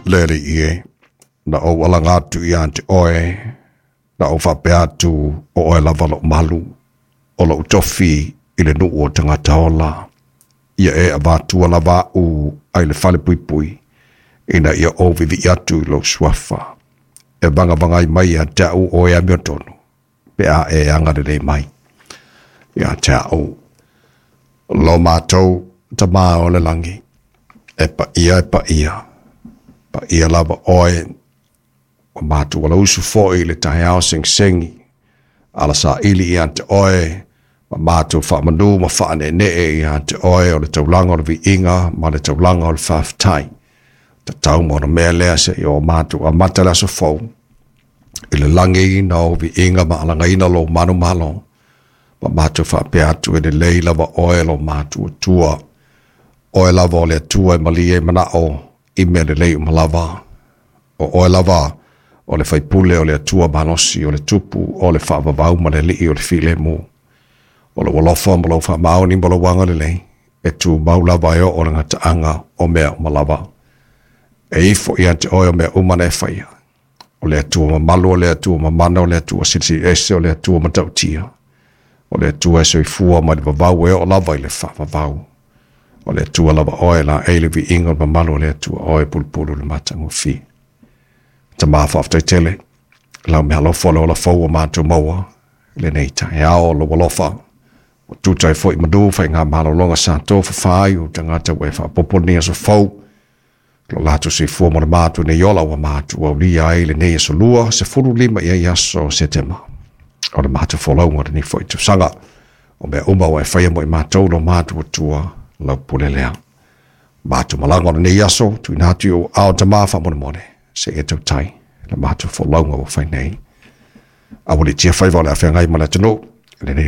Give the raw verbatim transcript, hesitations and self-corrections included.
Le Alii e, na ou alaga atu ia te oe, na ou faapea atu o oe lava lou malu, o lou tofi i le nuu o tagata ola. Ia e avatua lava a'u ai le fale puipui, ina ia ou viivii atu i lou suafa. E vagavagai mai ia te a'u o e amiotonu, pe a e agalelei mai ia te a'u. Lo matou Tamā o le lagi, e paia e paia, paia lava oe, ua matou alausu foi i le taeao segisegi, ala saili ia te oe, ma matou faamanu ma faaneenee ia te oe o le taulaga o le viiga ma le taulaga o le faafetai. Tatau ma ona mea lea seia o matou amata le aso fou, i le lagiina o viiga ma alagaina lou manumalo, ma matou faapea atu e lelei lava oe lo matou Atua. Oe lava o le Atua e malie ai manao i mea lelei uma lava. O oe lava o le faipule o le Atua malosi, o le Tupu o le faavavau ma le Alii o le filemu. O lou alofa ma lou faamaoni ma lou agalelei e tumau lava e oo i le gataaga o mea uma lava. E ifo ia te oe o mea uma na e faia. O le Atua mamalu, o le Atua mamana, o le Atua silisili ese, o le Atua matautia. O le Atua e soifua mai le vavau e oo lava i le faavavau. O le Atua lava oe laei le viiga o le mamalu o le Atua oe pulupulu le matagofie. Tamā faafetai tele, lau meaalofa o le ola fou ua matou maua i lenei taeao o lou alofa. Ua tuta ai foi manu faigamalologa sa tofafa ai ou tagata ua e faaopoopo lenei aso fou. Lo latou soifua ma le matou nei ola ua matou aulia ai lenei aso lua, sefulu lima i ai aso o Setema. O le matou folauga o lenei foi tausaga. O mea uma ua e faia mo i matou lo matou Atua, lau pule lea. Matou malaga o lenei aso, tuuina atu i ou aao Tamā faamolemole, se i e tautai le matou folauga ua fai nei. Aualiitia faiva o le a feagai ma le atunuu, lenei